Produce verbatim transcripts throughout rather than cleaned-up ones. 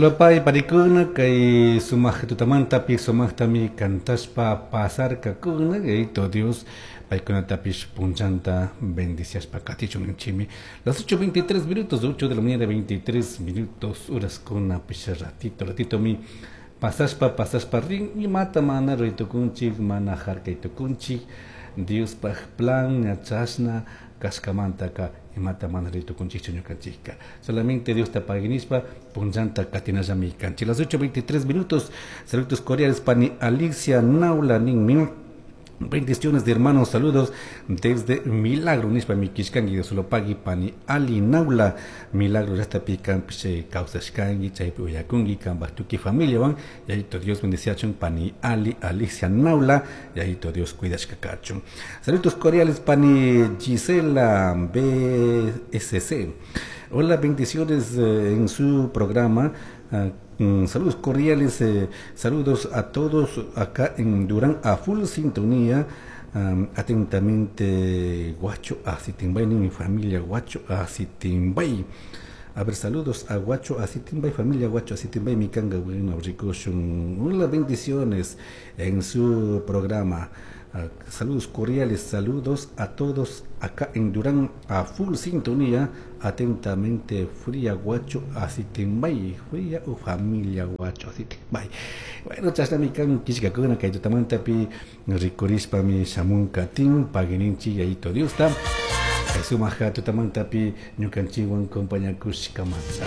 Solopay parikuna kay sumaq tutamantapi sumaqtami kantashpa pasarkakuna Yayito Dios paykunatapish punchanta bendiciashpa katichun ninchimi. Las ocho veintitrés minutos, ocho de la mañana veintitrés minutos, horaskuna pish ratito, ratito mi pasashpa pasashpa rin imata mana ruytukunchik mana harkaytukunchik Diospaj plan ñachashna kashkamantaka imata mana ruytukunchikchu ñukanchikka. Solamente Dios ta paguinispa punchanta katinallami kanchik. Las ocho veintitrés minutos, saludos cordiales pani Alicia Naula ninmi. Bendiciones de hermanos, saludos desde Milagro, nispa mi kishkangi de solopagui pani Ali Naula, Milagro ya está pican piche causashkangi, chaypi uyakungi, kambatuki familia van, yayito Dios bendiciachun pani Ali Alicia Naula, yayito Dios cuidashkakachun. Saludos cordiales pani Gisela B S C. Hola, bendiciones eh, en su programa. Uh, mm, saludos cordiales, eh, saludos a todos acá en Durán a full sintonía. Um, atentamente, Guacho Asitimbay, mi familia Guacho Asitimbay. A ver, saludos a Guacho Asitimbay, familia Guacho Asitimbay, mi canga, bueno, ricochun. Hola, bendiciones en su programa. Uh, saludos cordiales, saludos a todos acá en Durán a full sintonía. Atentamente, Fría Guacho Asitimbay, Fría o familia Guacho Asitimbay. Bueno, chashnami kan kishkakuna kay tutamantapi rikurishpa mi shamun katin pagininchi yayito Diosta. Kay sumaja tutamantapi ñukanchikwan compañakushkamanta.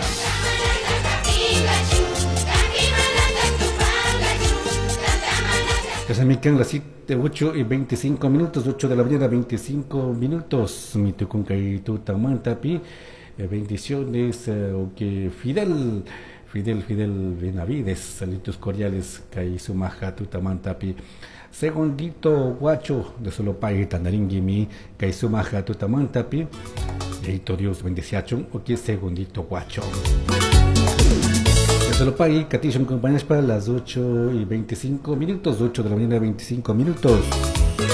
Chashnami kan las siete, ocho y veinticinco minutos, ocho de la mañana, veinticinco minutos. Mi tucunca y tutamantapi. Eh, bendiciones, eh, que Fidel, Fidel, Fidel Benavides, saludos cordiales, kay sumaja tutamantapi. Segundito guacho de Solopay, Tandaringuimi, kay sumaja tutamantapi. Eito Dios bendiciachun, o que segundito guacho. De Solopay, Catishon, compañeros, para las ocho y veinticinco minutos, ocho de la mañana, veinticinco minutos.